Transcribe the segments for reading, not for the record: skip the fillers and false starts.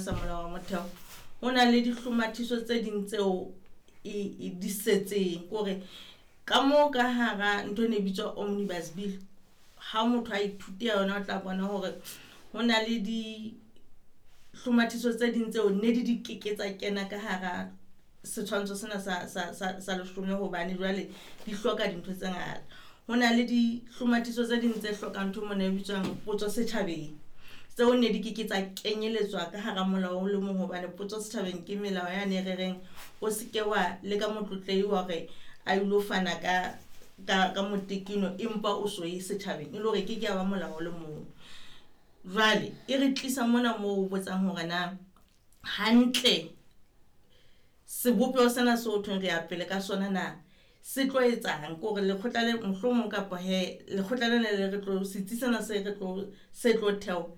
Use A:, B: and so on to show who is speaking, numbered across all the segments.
A: sa molao wa motheo, ho na le dihlomathiso tse ding tseo e di setseng. Kore ka moo ka hara ntho e ne bitswa omnibus bill, ha motho a ithute yona o tla bona hore ho na le dihlomathiso tse ding tseo ne di di keke tsa kena ka hara setshwantsho sena sa leshome, hobane jwale di hloka dintho tse ngata. Ho na le dihlomathiso tse ding tse hlokang ntho mona e bitswang potso setjhabeng, tseo ne di keke tsa kenyeletswa ka hara molao o le mong, hobane potso setjhabeng ke melao yane e re reng o se ke wa leka motlotlehi hore a ilo fana ka motekeno empa o so ye setjhabeng, e le hore ke ke ya ba molao o le mong. Jwale e re tlisa mona moo o botsang hore na hantle sebopeho sena seo thweng re ya pele ka sona na se tlo etsang, kore lekgotla le mohlomong kapa he lekgotla lena le re tlo setsi sena se re tlo se tlo theo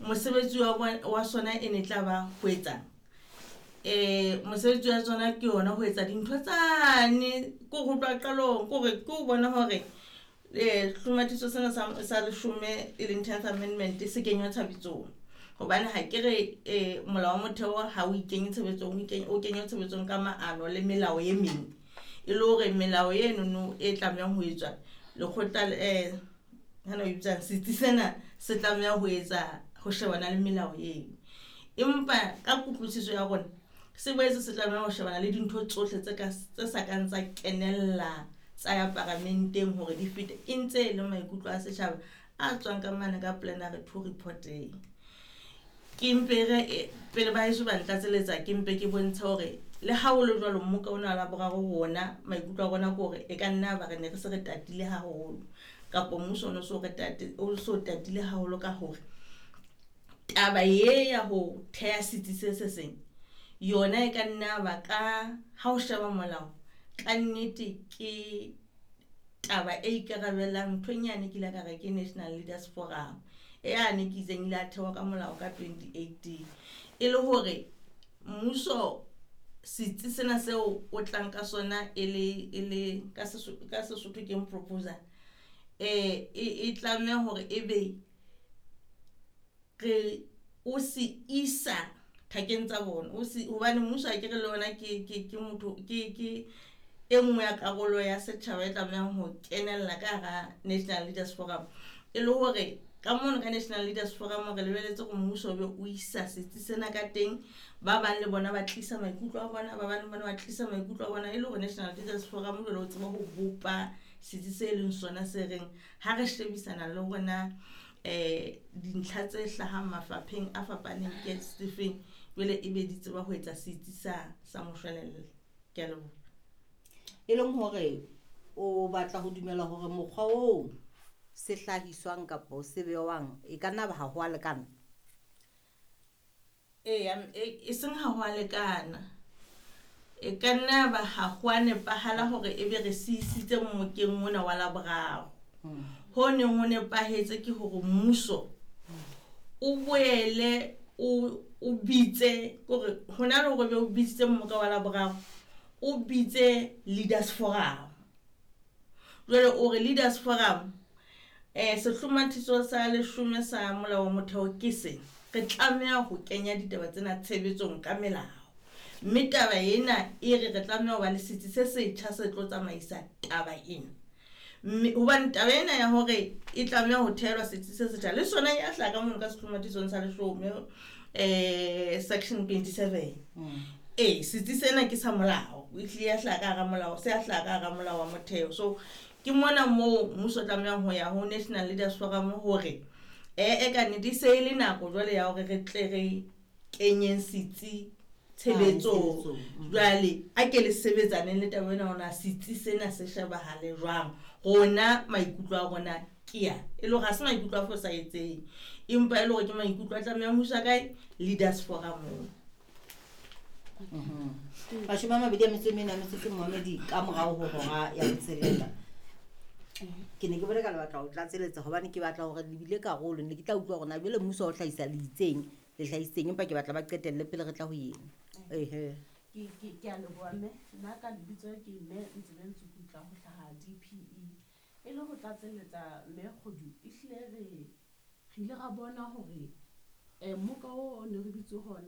A: mosebetsi wa sona e ne tla ba ho etsang. Mosebetsi wa tsona ke yona ho etsa dintho tsane ko ho tloha qalong, kore ke ho bona hore hlomathiso sena sa leshome e leng 10th amendment se kenywa tshebetsong. Hobane ha ke re molao wa motheo ha o ikenye tshebetsong, o kenywa tshebetsong ka maano le melao e meng, e le hore melao enono e tlamehang ho etswa lekgotla hana o bitsang setsi sena se tlameha ho etsa ho shebana le melao eo. Empa ka kutlwisiso ya rona se boetse se tlameha ho shebana le dintho tsohle tse sa kang tsa kenella tsa ya paramenteng hore di fete, e ntse e le maikutlo a setjhaba a tswang ka mane ka plenary 2 report-eng. Ke mpe re pele ba heso ba ntlatseletsa, ke mpe ke bontshe hore le ha ho le jwalo mmoka ona wa Laboraro rona maikutlo a rona ke hore e ka nna ba re ne re se re tatile haholo, kapa mmuso o no so re tate o so tatile haholo ka hore taba e ya ho theha setsi se se seng yona e ka nna ba ka ha o sheba molao ka nnete ke taba e ikarabelang nthong yane ke ile ka re ke National Leaders Forum e yane ke itseng ile a thewa ka molao ka 2018, e le hore mmuso setsi sena seo o tlang ka sona e le ka Sesotho ke proposal, e tlameha hore e be re o se isa thakeng tsa bona, o se hobane mmuso ha ke re le ona ke motho ke e nngwe ya karolo ya setjhaba e tlamehang ho kenella ka hara National Leaders Forum. E le hore ka mono ka National Leaders Forum re lebeletse hore mmuso o be o isa setsi sena ka teng, ba bang le bona ba tlisa maikutlo a bona, ba bang le bona ba tlisa maikutlo a bona, e le hore National Leaders Forum jwale o tseba ho bopa setsi se leng sona se reng ha re shebisana le rona dintlha tse hlahang mafapheng a fapaneng ke sefeng, jwale e be di tseba ho etsa setsi sa moshwelella. Ke a leboha.
B: E leng hore o batla ho dumela hore mokgwa oo se hlahiswang kapa se bewang e ka nna ba ha ho a lekana?
A: Eya, e seng ha ho a lekana, e ka nna ba ha ho a nepahala hore e be re siisitse mmokeng mona wa Laboraro. Ho neng ho nepahetse ke hore mmuso o boele o bitse, kore hona le hore be o bitsitse mmoka wa Laboraro, o bitse Leaders Forum. Jwale o re Leaders Forum sehlomathiso sa leshome sa molao wa motheo ke se re tlameha ho kenya ditaba tsena tshebetsong ka melao, mme taba ena e re re tlameha ho ba le setsi se setjha se tlo tsamaisa taba ena. Mme hobane taba ena ya hore e tlameha ho thehelwa setsi se setjha le sona ya hlaha ka mono ka sehlomathisong sa leshome, section 27. Setsi sena ke sa molao, e hlile ya hlaha ka hara molao, se a hlaha ka hara molao wa motheo. So ke mona moo mmuso o tlamehang ho ya ho National Leaders Forum hore ka nnete e se e le nako jwale ya hore re tle re kenyeng setsi tshebetsong. Jwale a ke le sebetsaneng le taba ena hore setsi sena se shebahale jwang, rona maikutlo a rona ke ya e le hore ha se maikutlo a fosahetseng, empa e le hore ke maikutlo a tlamehang ho iswa kae Leaders Forum.
B: 24 a metsotso momedi ka morao ho hora ya botshelela. Ke ne ke bone ka lebaka ho tlatseletsa hobane ke batla hore le bile karolo, ne ke tla utlwa hore na jwale mmuso o hlahisa le itseng le hlahisitseng, empa ke batla ba qetelle pele re tla ho eng. Ehe.
C: Ke a leboha mme, nna ka lebitso ke mme Ntsebe Ntsukutla ho hlaha DPE. E le ho tlatselletsa mme Kgodu, ehlile re ile ra bona hore mmoka oo ne re bitse hona